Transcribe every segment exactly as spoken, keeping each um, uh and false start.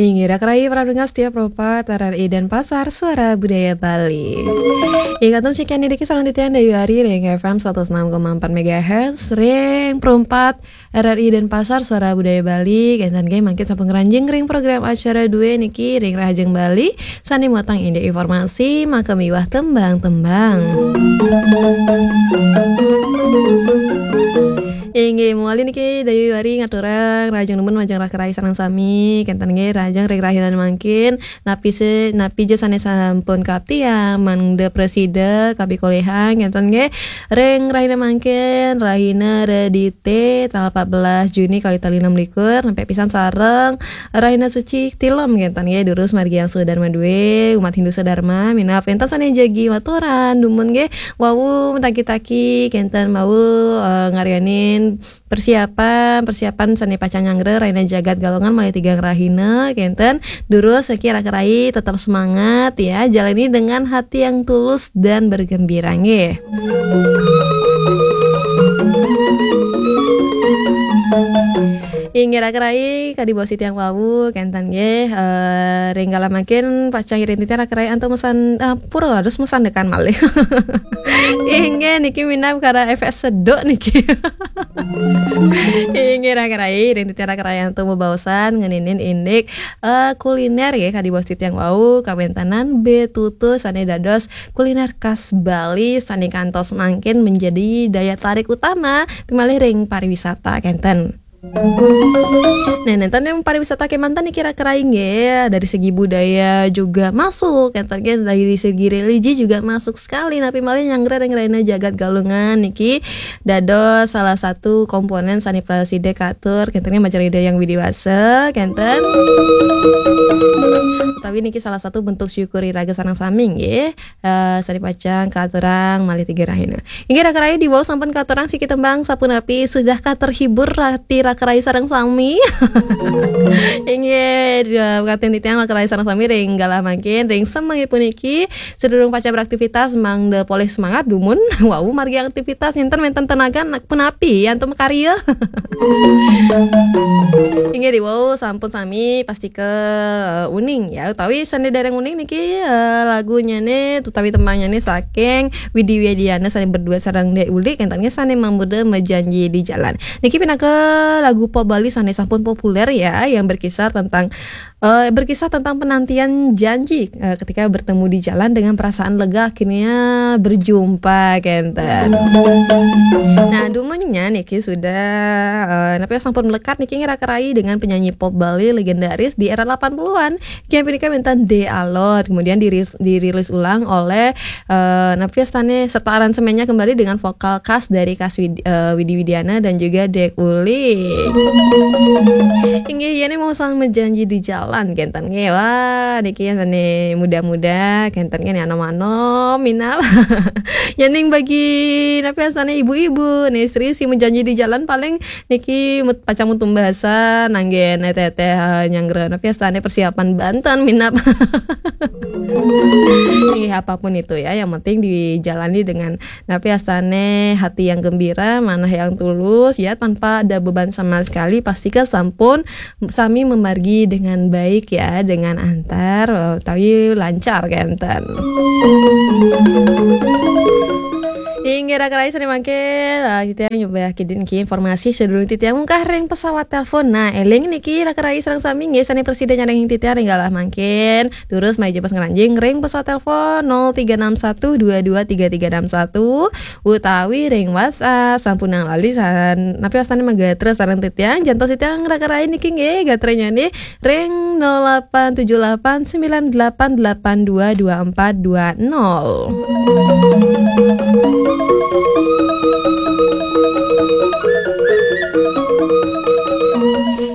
Inggih, raka rayi para pendengar setia Pro empat R R I Denpasar, Suara Budaya Bali. Inggih, kantun sekian niki sareng titiang Dayu Ari ring F M seratus enam koma empat megahertz, ring Pro empat R R I Denpasar, Suara Budaya Bali. Kenten nggih mangkin sampun ngranjing ring program acara due niki ring Rahajeng Bali, sane muatang indik informasi, maka miwah tembang-tembang. Inggih, mawali niki Dayu Ari ngaturang rahajeng nunas majeng raka rayi sareng sami. Kenten nggih, rahajeng ring rahina mangkin, napi se-, napi ja sane sampun kaaptiang, mangda prasida kapikolihan, kenten nggih, ring rahina mangkin, rahina Redite, tanggal empat belas Juni kalih tali enam likur, nempe pisan sareng rahina suci Tilem, kenten nggih, durus margi Angsu Dharma due, umat Hindu sedharma, minab wenten sane jagi maturan, dumun nggih, wau mataki-taki, kenten wau, eh, ngaryanin persiapan, persiapan sane pacang nyanggra rahina Jagat Galungan malih tigang rahina, kenten, durus niki raka rayi tetap semangat ya, jalani dengan hati yang tulus dan bergembira nggih. Inggih raka rayi, kadi baos titiang wau, kenten nggih, eh, ring galah mangkin pacang iring titiang raka rayi antuk mesan, eh, pura harus mesandekan malih. Inggih niki minab kara efek seduk niki. Inggih raka rayi, iring titiang raka rayi antuk bebaosan ngeninin indik, eh, kuliner nggih, kadi baos titiang wau, kawentanan betutu sane dados kuliner khas Bali sane kantos mangkin menjadi daya tarik utama malih ring pariwisata, kenten. Nah, nenten yang pariwisata kemanten niki raka rayi nggih, dari segi budaya juga masuk, kenten nggih, dari segi religi juga masuk sekali, napi malih nyanggra ring rahina Jagat Galungan niki dados salah satu komponen sane prasida katur, kenten nggih, majeng Ida Hyang Widi Wasa, kenten. Utawi niki salah satu bentuk syukur iraga sareng sami nggih, eh, sane pacang katurang malih tiga rahina. Inggih raka rayi, diwau sampun katurang siki tembang sapunapi sudah katerhibur rati raka rayi sareng sami. Inggih, eh, pekantun titiang raka rayi sareng sami ring galah mangkin, ring semeng puniki, sadurung pacang beraktivitas mangda polih semangat dumun, wau margi aktivitas nenten wenten tenaga nak punapi antuk makarya. Inggih diwau sampun sami pastika, eh, uning ya, utawi sane dereng uning niki, eh, lagunyane utawi tembangnyane saking Widi Widiana sane berdua sareng Dek Uli, kenten nggih, sane mamurda Mejanji di Jalan. Niki pinaka lagu pop Bali sane sampun populer ya, yang berkisar tentang, eh, berkisah tentang penantian janji, eh, ketika bertemu di jalan dengan perasaan lega akhirnya berjumpa, kenten. Nah, dumunnya niki sudah, eh, napi sampun melekat niki raka rayi dengan penyanyi pop Bali legendaris di era delapan puluhan. Yang punika wenten De Alot, kemudian diris-, dirilis ulang oleh, eh, napi astane serta aransemennya kembali dengan vokal khas dari Kas Wid-, eh, Widi Widiana dan juga Dek Uli. Inggih, yen mau sang mejanji di jalan, kenten nggih. Wah, niki yang sane muda-muda, kenten nggih, anom-anom, minab. Yen ning bagi napi astane ibu-ibu, nih istri si mejanji di jalan paling niki mut-, pacang mutumbasa nanggen teteh, eh, nyanggra napi astane persiapan banten minab. Nih, apapun itu ya, yang penting dijalani dengan napi astane hati yang gembira, manah yang tulus ya, tanpa ada beban sama sekali, pastika sampun sami memargi dengan baik ya, dengan antar, eh, utawi lancar kenten. Inggih raka rayi sane mangkin, ah, titiang nyoba kidin niki informasi sadurung titiang munggah ring pesawat telepon. Nah, eling niki raka rayi sareng sami nggih sane prasida nyarengin titiang ring galah mangkin. Durus malih jebos ngranjing ring pesawat telepon nol tiga enam satu dua dua tiga tiga enam satu utawi ring WhatsApp sampunang lali san-, napi astane magatra sareng titiang, jantos titiang raka rayi niki nggih gatranyane ring nol delapan tujuh delapan sembilan delapan delapan dua dua empat dua nol.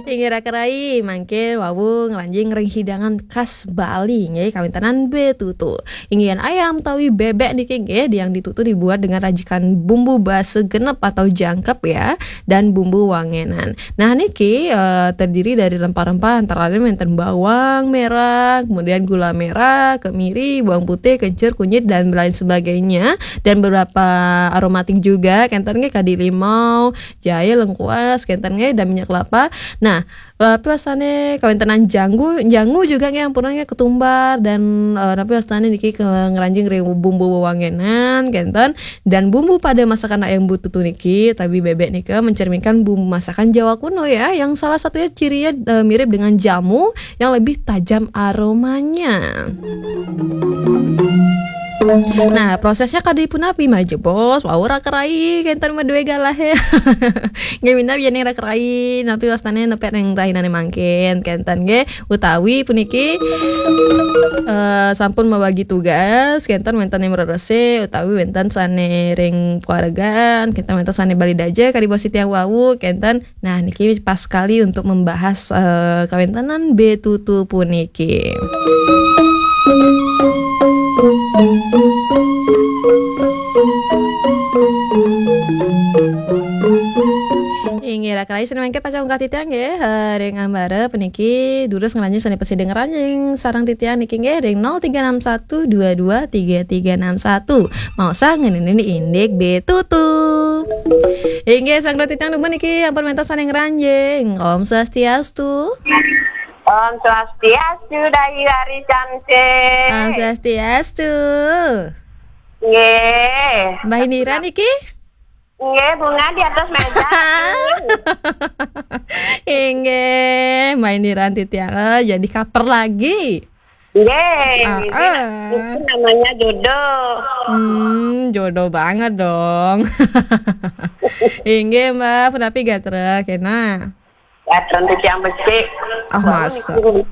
Inggih raka rayi, mangkin wau ngranjing ring hidangan khas Bali nggih, kawentanan betutu. Inggih ayam utawi bebek niki nggih, yang ditutu dibuat dengan racikan bumbu basa genep atau jangkep ya, dan bumbu wangenan. Nah, niki, eh, terdiri dari rempah-rempah antara lain wenten bawang merah, kemudian gula merah, kemiri, bawang putih, kencur, kunyit, dan lain sebagainya. Dan beberapa aromatik juga, kenten nggih kadi limau, jahe, lengkuas, kenten nggih, dan minyak kelapa. Nah, Tapi wastane kawéntenan jangu, jangu juga nggih ampun nggih ketumbar dan, eh, napi wastane niki ke ngranjing ring bumbu wewangenan kenten, dan bumbu pada masakan ayam betutu niki, tabi bebek nika mencerminkan bumbu masakan Jawa kuno ya, yang salah satunya cirinya, eh, mirip dengan jamu yang lebih tajam aromanya. Nah, prosesnya kadi punapi mah jebos, wau rakerai kenten madue galah ya. Nggih minab yen rakerai, napi wastane nepek ring rahinane mangkin kenten nggih, utawi puniki, eh, sampun mabagi tugas kenten wenten ing mrerese utawi wenten sane ring keluargaan, kenten wenten sane bali daja kadi bos titiang wau kenten. Nah, niki pas sekali untuk membahas, eh, kawentenan betutu puniki. Inggih, rakerai sane mangke pacang unggah titiang nggih, eh, ring ambara puniki durus ngranjing sane pasida ngranjing sareng titiang niki nggih ring nol tiga enam satu dua dua tiga tiga enam satu. Maosang ngeninin indik betutu. Inggih, sang titiang dumun niki ampun wenten sane ngranjing. Om Swastiastu. Om Swastiastu, Dayu Ari Cantik. Om Swastiastu. Nggih. Mbah Indira niki? Nggih, bunga di atas meja. Inggih, Mbah Indira titiang, eh, jadi kaper lagi. Nggih, ah, ini, ah, itu namanya jodoh. Hmm, jodoh banget dong. Inggih, Mbah, punapi gatra kena? Gatra titiang becik. Ah, wau masa? Niku,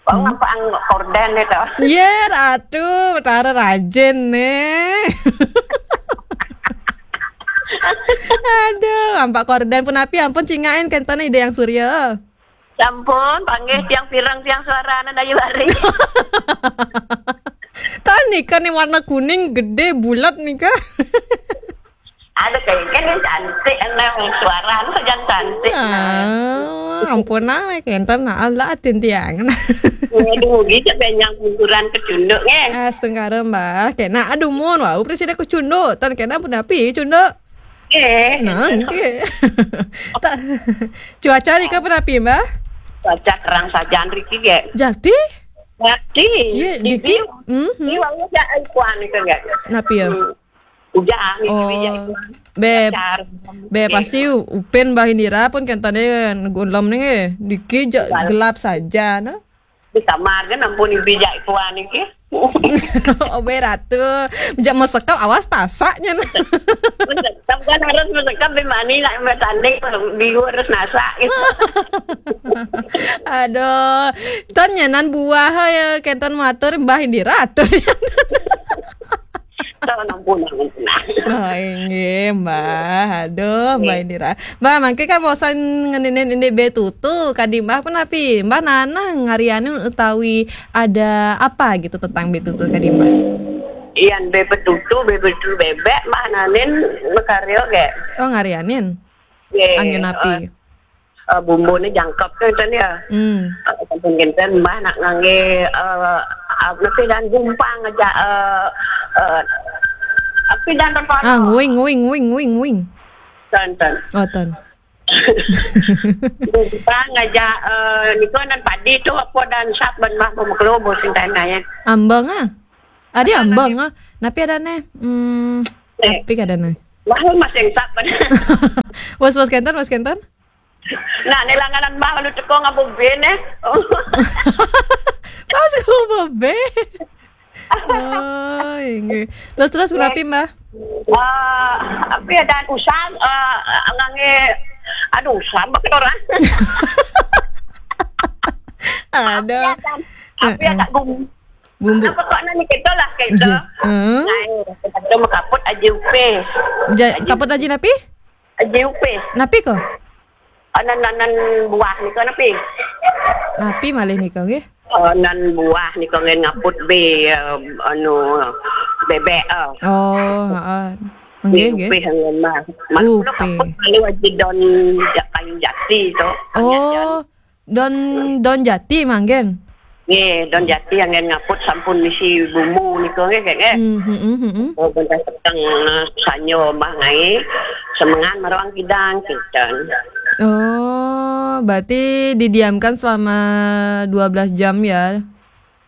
wau, hmm, ngampakang korden itu. Ye, Ratu, Betara rajin nih. Aduh, ampak korden punapi ampun cingakin kenten Ida Hyang Surya. Sampun, panggih tiang pireng tiang suarane Dayu Ari. Kan nika nih warna kuning gede bulat nika. Ada kayak kan yang cantik, enak suarane sajan cantik. Ah, ampun ah, kenten nah Allah atin tiang. Aduh, gitu banyak hiburan kecunduk nggih. Ah, setengkara Mbah. Kena aduh mun wau presiden kecunduk. Tan kena punapi cunduk. Eh. Nah, nggih. Tak cuaca nika punapi, Mbah? Cuaca kerang sajan riki nggih. Jati? Jati. Iya, niki. Mhm. Ini wau ya kuan itu nggih. Napi ya? Hmm. Ujan, oh, bijak itu. Be, be, pasti u-, upin Mbah Indira pun kentane gulem nih, niki ja-, gelap saja, nah. Di kamar kan ampun bijak itu aneh ya. Oh, be Ratu, bijak mesekap awas tasaknya, nah. Mesekap kan harus mesekap di mana nak bertanding, biru harus nasak gitu. Aduh, tan nyanan buah ya, kenten matur Mbah Indira atur. Tahun ampun, ampun. Oh, inggih, Mbah. Aduh, Mbah Indira. Mbah, mangke kan bosan ngeninin ini betutu, kadi Mbah punapi? Mbah nanah ngarianin utawi ada apa gitu tentang betutu kadi Mbah? Iyan bebetutu, bebetutu bebek, Mbah nanin makarya ge. Oh, ngarianin? Nggih, anggen api. Eh, eh, bumbune jangkep kan, kan ya. Hmm. Eh, sampun kinten Mbah nak ngangge, eh, apa sih, dan gumpang aja, eh, eh, apa dan perkara. Ah, nguing, nguing, nguing, nguing, nguing. Ten, ten. Oh, ten. Gumpang aja, eh, niku nan padi tu apa dan sap ben Mbah pemekelubus sing ten kaya. Ambeng ah. Adi ambeng ah. Napi adane? Hmm, eh, napi adane? Mbah masih sap ben. Bos, bos kenten, bos kenten? Nah, nelanganan Mbah lalu teko ngabuk bene. Pas ngabuk be. Oh, inggih. Terus, terus, nggih, punapi, Mbah? Eh, apa ya, dan usam, eh, ngangge, aduh, usam banget orang. Ada. Apa ya, dan, apa ya, heeh, dan bumbu. Bumbu. Apa kok nanya kita lah, kita. Nggih. Heeh. Nah, kita makaput aji upe. Ja-, aji kaput aji napi? Aji upe. Napi ko? Anan-anan buah nika napi? Napi malih nika nggih? Anan buah nika ngen ngaput be, eh, anu, bebek, eh. Oh, heeh. Nggih, nggih. Be upe ngen mah. Upe. Kaput lalu aji don ja-, kayu jati to. Oh, don, don jati manggen. Nggih, don jati anggen ngaput sampun misi bumbu nika nggih, nggih. Hmm, hmm, hmm, hmm. Oh, benda peteng, eh, sanyo mah ngai. Semengan marawang kidang, kinten. Oh, berarti didiamkan selama dua belas jam ya?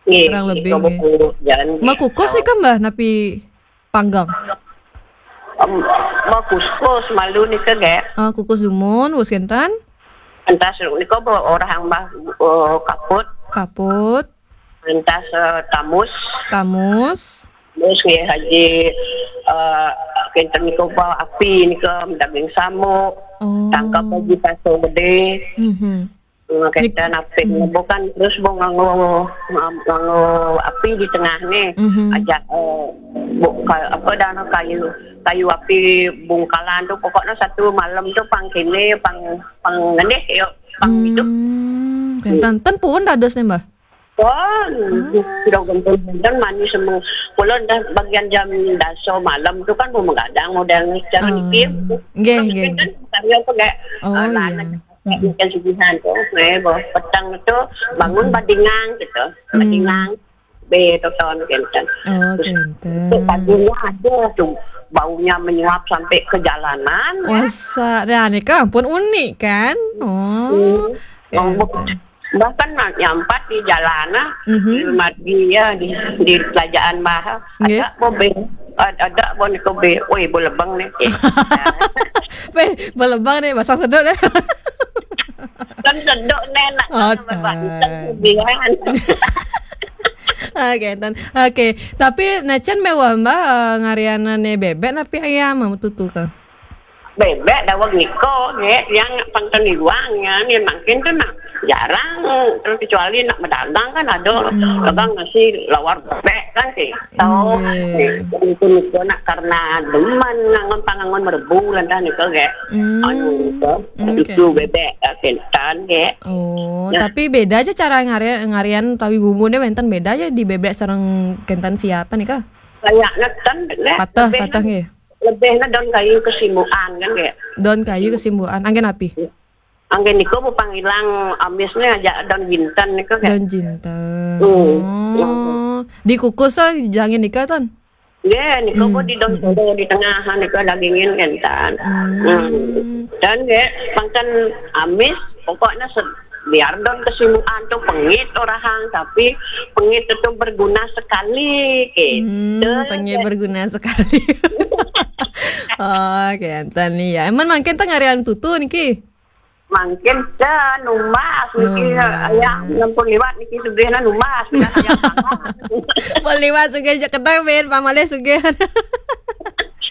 Nggih, Kurang lebih, dua nggih. puluh jam. Makukus nih kan, Mbah, napi panggang? Em, Makuskus malu nika, nggih. Ah, kukus dumun, wus kenten. Entas nika orang Mbah, eh, kaput, Kaput, entas, eh, tamus, tamus. terus nggih haji, eh, kenten nika Mbah, api nika daging samuk, Oh. tangkap haji paso gede. Mhm. Eh, kenten api bukan terus bu nganggo, nganggo api di tengah nih. Mhm. Aja, eh, bu, ka-, apa dah, kayu, kayu api bungkalan tu, pokoknya satu malam tu pang kene, pang, pang ngendih ya, pang hidup. Hmm, kenten. Ten pun dados nih, Mbah. Pun, sudah gempur dan manis semua. Kalau dah bagian jam dasa malam tu kan bu menggadang model ni. Cara Ah. niki. Nggih, nggih. Kan karya apa, nggih? Oh, Eh, iya. lahan. Ikan sugihan tu, eh, bah, petang tu bangun badingang gitu. Badingang. Be toton kenten. Oh, Terus kenten. tu paginya ada tu baunya menyuap sampai ke jalanan. Wasa, dah nika pun unik kan? Oh. Hmm. Kenten. Bahkan nak nyampat di jalan ah, Mhm. di margi ya, di, di kerajaan Maha. Nggih. Ada bo be, ada, ada bo niko be. Woi, bo lebeng nih. Weh, belebang nih, basang sedut deh. Kan sedok nih nak. Oh, Bapak tai. Isan kebihan. Oke, tan. Oke, tapi nacan mewah, Mbah, eh, ngarianane bebek napi ayam, mau tutu ke? Bebek daweg niko, nggih, yang pangken iwang ya, ni makin tu nak jarang. Terus kecuali nak medagang kan ada. Kadang nasi lawar bebek kan sih. Tahu Nggih. itu niko nak karena demen ngangon pangangon merebu lantas niko, nggih. Hmm. Anu niko, Oke. itu bebek, eh, kenten, nggih. Oh, Ya. Tapi beda aja cara ngarian, ngarian tawi bumbune wenten beda aja di bebek sareng kenten siapa nih, Kak? Kayak ngeten, nggih. Patah, Lebih patah nggih. Lebih na daun kayu kesimbukan kan, nggih. Daun kayu kesimbukan. Anggen api? Anggen niko bu pangilang amisnya aja daun jinten niko, nggih. Daun jinten. Hmm. Oh, dikukus ah jangan nika, Tan? Nggih, niko bu Hmm, di daun solo di tengah niko dagingin kenten. Hmm. Hmm. Dan nggih, pangken amis pokoknya se- biar daun kesimbukan tu pengit orang, tapi pengit itu berguna sekali, gitu. Hmm, pengit berguna sekali. Oh, kenten nih ya. Emang mangkin tengah ngarian tutu niki? Mangkin dah numbas niki, Numbas. Ya, enam puluh lewat niki sugihna numbas, sudah ayam panggang. Mau liwat sugih aja ketang, Ben, pamalih sugih.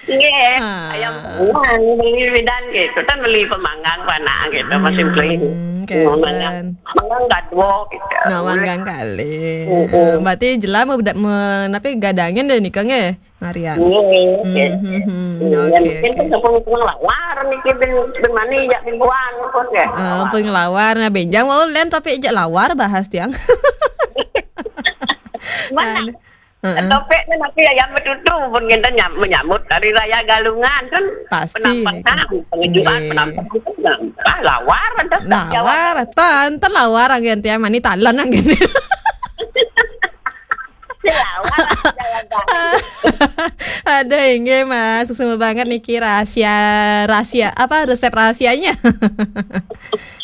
Nggih, Ah. Ayam panggang beli bidan gitu kan, beli pemanggang panak gitu, masih beli. Hmm, Manggang, kenten. manggang gadwo gitu. Nah, manggang kali. Mm-mm. Eh, berarti jelas mau beda- me- napi gadangin deh nika nggih, ngarian. Nggih, Hmm, gitu. hmm, hmm. Iya, Oke, mungkin oke. Kan tepung-tepung lawar niki bin bin mani jak bin buan pun ya. Eh, pengelawar, nah benjang mau len tapi aja lawar bahas tiang. Mana? Heeh. Topik ni nanti ayam betutu pun kita nyam, menyambut hari raya Galungan kan. Pasti. Penampakan, pengejuan, Nggih. Penampakan kan. Ah, lawar ada. Lawar, tan, tan lawar anggen tiang mani talon anggen. Lawar ada. Ada inggih, Mas. Susu banget niki rahasia, rahasia apa resep rahasianya?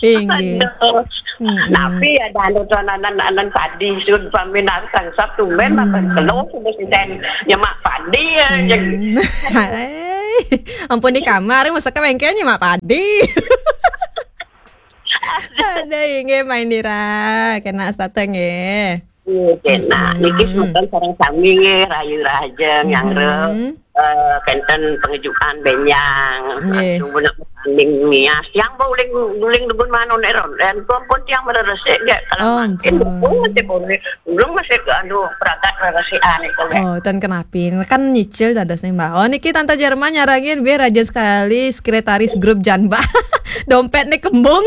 Inggih. Aduh. Mm-mm. Tapi ya dah anu tuan anan anan padi sud paminar sang Sabtu men makan kelo sudah sisen nyemak padi ya. Hmm. Hai. Ampun di kamar masa ke bengkelnya mak padi. Ada inggih main dira kena sateng nggih. Iya, kena. Niki semeton sareng sami nggih, rayu rahajeng yang re. Eh, kenten pengejukan benyang. Nggih. Langsung guna tanding nias. Yang bau uling uling debun mano neron. Dan pun pun tiang mereresik nggih. Kalau Oh, mungkin ampun. Oh, dia boleh. Belum masih anu perangkat reresikan itu nggih. Oh, tan kenapi kan nyicil dados nih, Mbak. Oh, niki Tante Jerman nyarangin biar rajin sekali sekretaris grup Janba. Dompet nih kembung.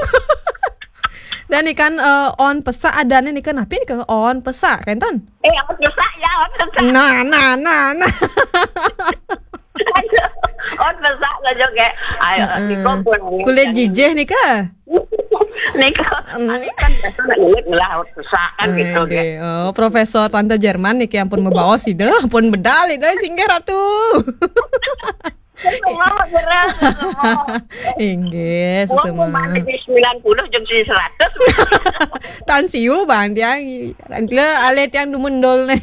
Dan ikan eh, on pesak adanya nih kan napi nih on pesak kan, Tan? Eh, apa susah ya, apa susah. Nah, nah, nah, nah. Oh, susah lah juga. Ayo, Heeh. dikumpul. Kulit jijih nih kah? Nih kok, kan biasa nak ngelit ngelah susah kan gitu nggih. Oke. Oh, Profesor Tante Jerman nih ampun membawa sih deh, ampun bedal itu singgih ratu. Semua gerak, semua. Inggih, semua. Semua di sembilan puluh jeung di seratus. Tan siu bang tiang. Lha tiang dumundul nih.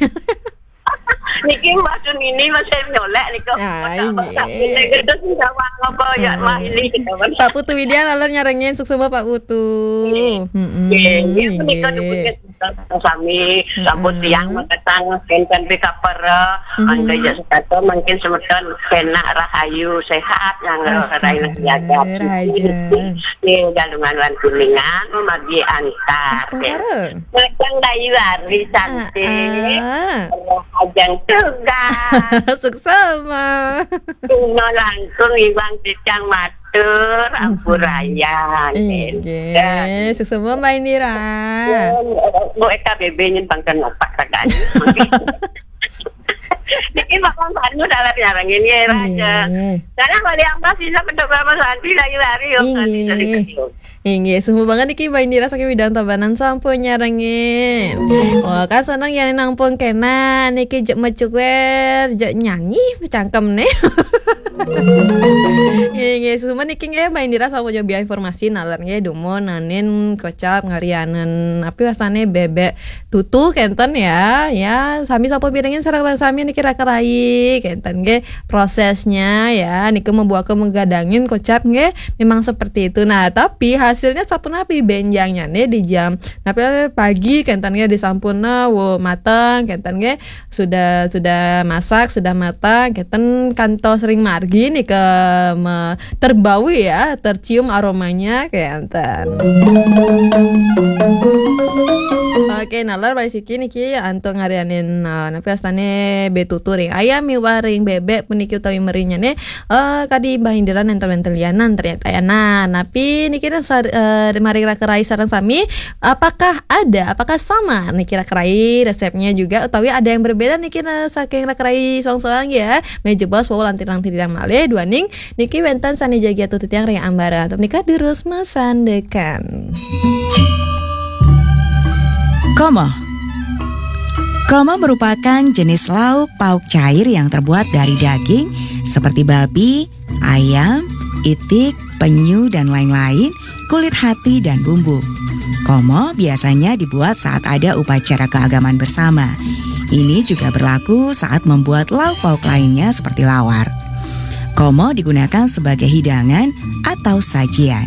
Niki Mbak Sunini masih nyolek niku. Ah, inggih. Gedhe sing gawang apa ya, Mbak, ini gitu. Pak Putu Widya lalu nyarengin, suksma Pak Putu. Nggih, nggih, menika inggih. Sami, sampun tiang maketang, enten pika para, angga ya sekata, mungkin semeton penak rahayu, sehat, yang rahayu, rahayu. Nggih, galungan lan kuningan, magi antar. Macang dayu hari cantik. Ajang tugas. Suksma. Tuna langkung iwang cicang matur, ampuraya. Inggih, suksma Mbak Indira. Bu E K B B nyen bangken opak ragane. Niki bakal banyu dalam nyarengin ya, Raja. Inggih. Karena kalau yang pas bisa mencoba Mas Andi lagi lari, yuk, Andi dari. Inggih, suksma banget niki Mbak Indira saking Widang Tabanan sampun nyarengin. Wah, kan seneng ya nang pun kena niki jek mecuker, jek nyanyi cangkem nih. Nggih, nggih, suksma niki nggih Mbak Indira sampun nyobi informasi nalar nggih dumun nanin kocap ngarianen api wastane bebek tutu kenten ya. Ya, sami sampun pirengin sareng sami niki raka rai kenten nggih prosesnya ya. Niki membuat menggadangin kocap nggih memang seperti itu. Nah, tapi hasilnya sapunapi benjangnya nih di jam napi pagi kenten nggih disampun wo mateng kenten nggih sudah sudah masak sudah matang kenten kantos ring margi nih ke me- terbawi ya tercium aromanya kenten. Oke, nalar balik siki niki antuk ngarianin uh, napi astane betutu ring ayam miwah ring bebek puniki utawi merinya nih uh, kadi Mbah Indira nenten wenten lianan ternyata ya. Nah, napi niki uh, mari raka rai sareng sami apakah ada, apakah sama niki raka rai resepnya juga utawi ada yang berbeda niki nah, saking raka rai soang-soang ya. Meja bos wau lantirang titirang malih duaning niki wenten sane jagi atuh titiang ring ambara. Untuk menika durus masandekan. Komo. Komo merupakan jenis lauk pauk cair yang terbuat dari daging seperti babi, ayam, itik, penyu, dan lain-lain, kulit hati, dan bumbu. Komo biasanya dibuat saat ada upacara keagamaan bersama. Ini juga berlaku saat membuat lauk pauk lainnya seperti lawar. Komo digunakan sebagai hidangan atau sajian.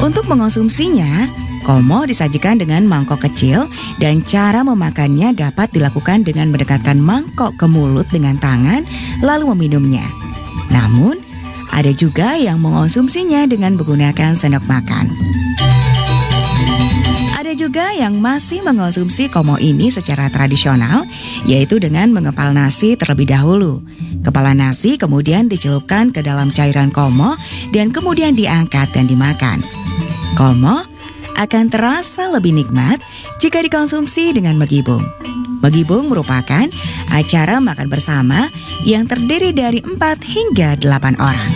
Untuk mengonsumsinya, komo disajikan dengan mangkok kecil dan cara memakannya dapat dilakukan dengan mendekatkan mangkok ke mulut dengan tangan lalu meminumnya. Namun, ada juga yang mengonsumsinya dengan menggunakan sendok makan. Ada juga yang masih mengonsumsi komo ini secara tradisional, yaitu dengan mengepal nasi terlebih dahulu. Kepala nasi kemudian dicelupkan ke dalam cairan komo dan kemudian diangkat dan dimakan. Komo akan terasa lebih nikmat jika dikonsumsi dengan megibung. Megibung merupakan acara makan bersama yang terdiri dari empat hingga delapan orang.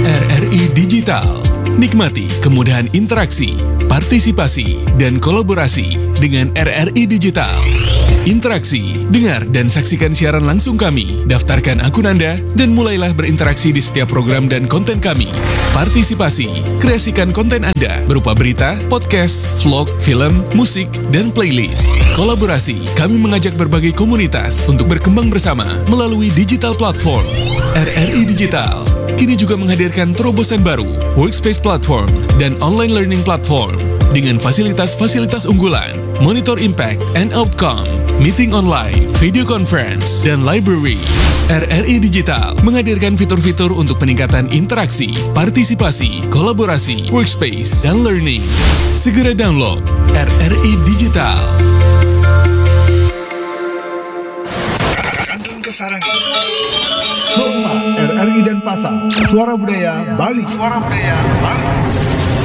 R R I Digital. Nikmati kemudahan interaksi, partisipasi, dan kolaborasi dengan R R I Digital. Interaksi, dengar dan saksikan siaran langsung kami. Daftarkan akun Anda dan mulailah berinteraksi di setiap program dan konten kami. Partisipasi, kreasikan konten Anda berupa berita, podcast, vlog, film, musik, dan playlist. Kolaborasi, kami mengajak berbagai komunitas untuk berkembang bersama melalui digital platform. R R I Digital kini juga menghadirkan terobosan baru, Workspace Platform dan Online Learning Platform dengan fasilitas-fasilitas unggulan, monitor impact and outcome, meeting online, video conference, dan library. R R I Digital menghadirkan fitur-fitur untuk peningkatan interaksi, partisipasi, kolaborasi, workspace, dan learning. Segera download R R I Digital. Kantun Kesarangan. Rumah R R I Denpasar. Suara Budaya Bali. Suara Budaya Bali.